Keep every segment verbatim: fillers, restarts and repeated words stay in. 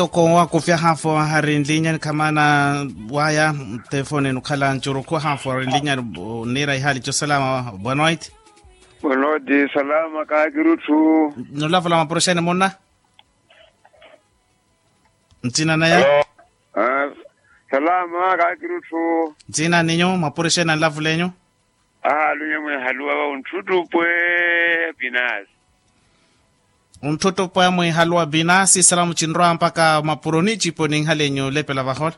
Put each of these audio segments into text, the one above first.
Toko wakufya hafu hari nlinyani khamana waya telefone nukhala ncurukhu hafu hari nlinyani. Nira ihali cosalama. Boa noite. Boa noite. Salama kakirutthu. Nulavula mapurusheni munna. Ntsina naya. Salama kakirutthu. Ntsina ninyu mapurusheni anlavulenyu. Ahalunya mwihaluwa va untthutupwe. Pinasi. Untthutupwe mwihaluwa pinasi salamu cinrwa mpaka mapuroni cipo ninhalenyu lepela vahola.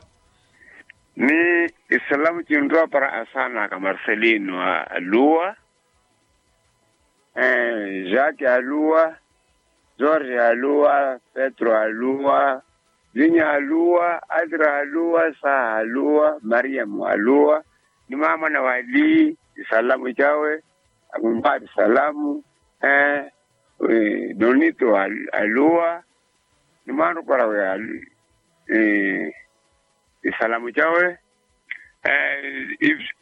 Ni isalamu cinrwa para asanaka marcelino aluwa. Jake aluwa, jorge aluwa, petro aluwa, linya aluwa, atra aluwa, saha aluwa, mariamu aluwa, ni mamana wali isalamu cawe. Amumpari salamu. Nonito aluwa, ni mwanrukora we aluwa. Isalamu cawe.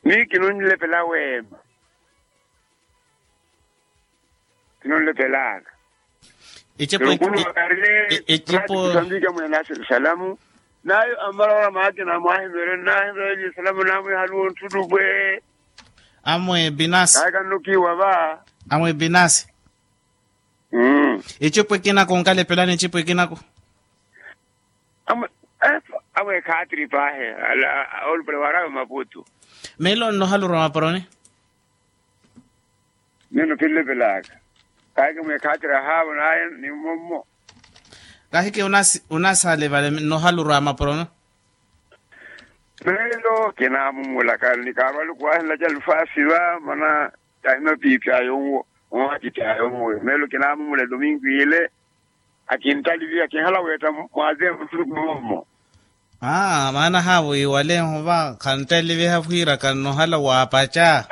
Mii kinonlepela weema. Kinonlepelaka. Icepo. Mwenaso isalamu. Nayo amala wala maakina mwahimere nahimere isalamu namwihaluwa ontthutupwe. Amwe binasi. Kakannukiwa va. Amwe binasi. Icipo ekinako nkalepelani icipo ekinako. Amwe ekhaatiri pahe. Olupale warawe maputu. Melo nnohalurwa maporoni. Nino kinlepelaka. Kahiki mwe ekhaatiri ahavo naye ni mmommo. Kahiki unasi unasale vale nnohalurwa maporoni. Melo kinamumulaka ni karwali kuwahenla ca lufasi va mana. Tahi mapiipya yonwo. Owakittya yonwo melo kinamumula edomingo ile. Akintaliviha kinhala weetta mwaze muttuluku moomo. Maana haavo iwaleho va khantaliviha wira kannohala waapaca.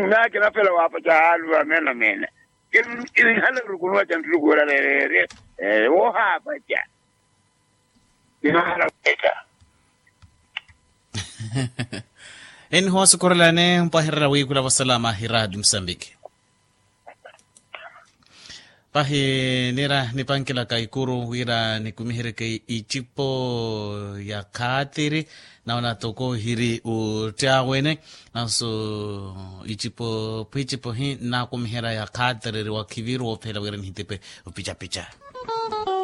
Naye kinapela waapaca haaluwa meena meena. Kinhala rukunuwa ca nttuluku wira rereere. Woohaapaca. Kinhala weetta. Eni hoosukurelani mpwahererya wiikhula vosalama hi raadi musambiki. Pahi nira nipankilaka ikuru wira nikumiheryeke icipo ya khaatiri. Naona toko hiri uttya wene. Nanso icipo pwiicipo hi nnakumiherya ya khaatiri eri wakhiviru woophela wira nihitipe. Opicapica.